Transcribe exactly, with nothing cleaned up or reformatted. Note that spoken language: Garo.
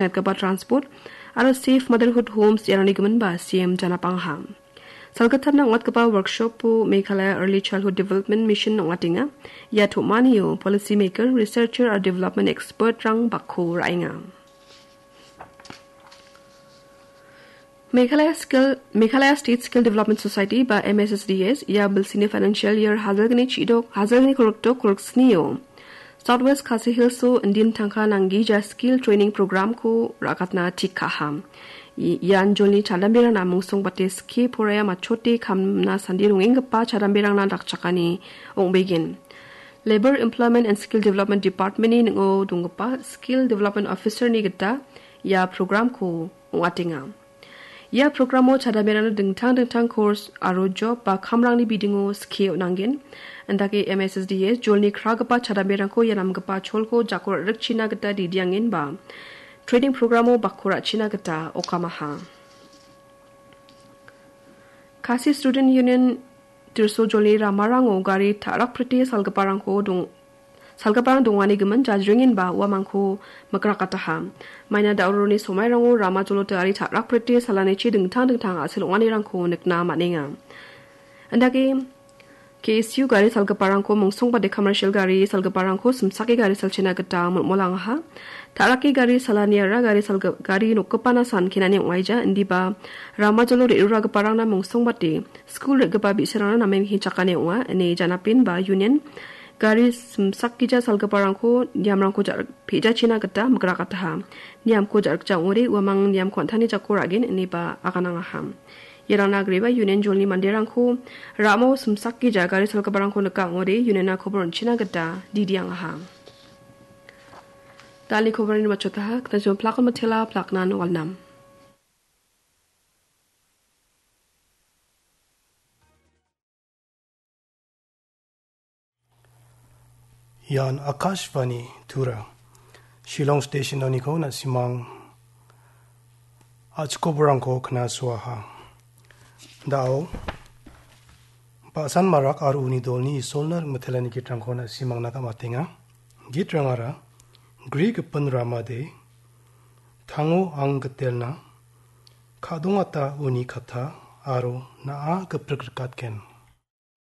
Gatgipa transport aro Safe Motherhood Homes iarangni giminba C M janapangaha. Salgittamna ong·atgipa workshop-o Meghalaya Early Childhood Development Mission ong·atenga. Ia tom·anio policy maker, researcher aro development expert-rang bakko ra·enga. Meghalaya Skill, Meghalaya State Skill Development Society ba M S S D S ia bilsini financial year hajalgni chidok, hajalgni kolokdok koloksnio South West Khasi Hills-o indin tangka nanggija skill training program-ko ra·katna tik ka·aha. I-, ian jolni chadamberangna mungsongbate skie poraia matchote kamna sandi rongenggipa chadamberangna dakchakani ong·begen. Labour, Employment and Skill Development Department-ni ning·o donggipa Skill Development Officer-ni gita ia program-ko ong·atenga. Ia programo chadamerangna dingtang dingtang course aro job ba kamrangni bidingo skie on·angen. Indake M S S D S jolni kragipa chadamerangko ia namgipa cholko jako ra·rikchina gita didiangenba training programo bakko ra·china gita okamaha. Khasi Student Union Tirso jolni ramarango gari ta·rakprite salgiparangko dong-, salgiparang dongani gimin jajrengenba uamangko mikrakataha. Maina da·oroni somairango rama jolo gari ta·rakprite salanichi dingtang dingtang a·sel ong·anirangko nikna man·enga. Indake K S U gari salgiparangko mungsongbate commercial gari salgiparangko simsake gari salchina gita molmolangaha. Ta·rake gari salaniara gari salgi-, gari nokgipana san kenani ong·aija, indiba rama jolo re·ruragiparangna mungsongbate skul re·gipa bi·sarangna namen hichakani ong·a, ine janapenba union gari simsakgija salgiparangko niamrangko ja-, pe·jachina gita mikrakataha. Niamko ja·rikja ong·ode uamang niamko an·tangni jako ra·gen ineba aganangaha. Iarangna agreba union jolni manderangko ramo simsakgija gari salgiparangko nika ong·ode union-na kobor on·china gita didiangaha. Dal·ni koborni matchotaha, knajon plakon matela plaknan walnam. Ian Akashvani Tura. Shillong Station-oniko na·simang a·chikoborangko knasuaha. Da·o, Ba·san Marak aro uni dolni Isolna rim·mitelani gitrangko na·simangna gam·atenga. Gitrangara, Gri gipin ramade, Tango ang gitelna, Ka·dongata uni katta, aro Na·a giprik rikatgen.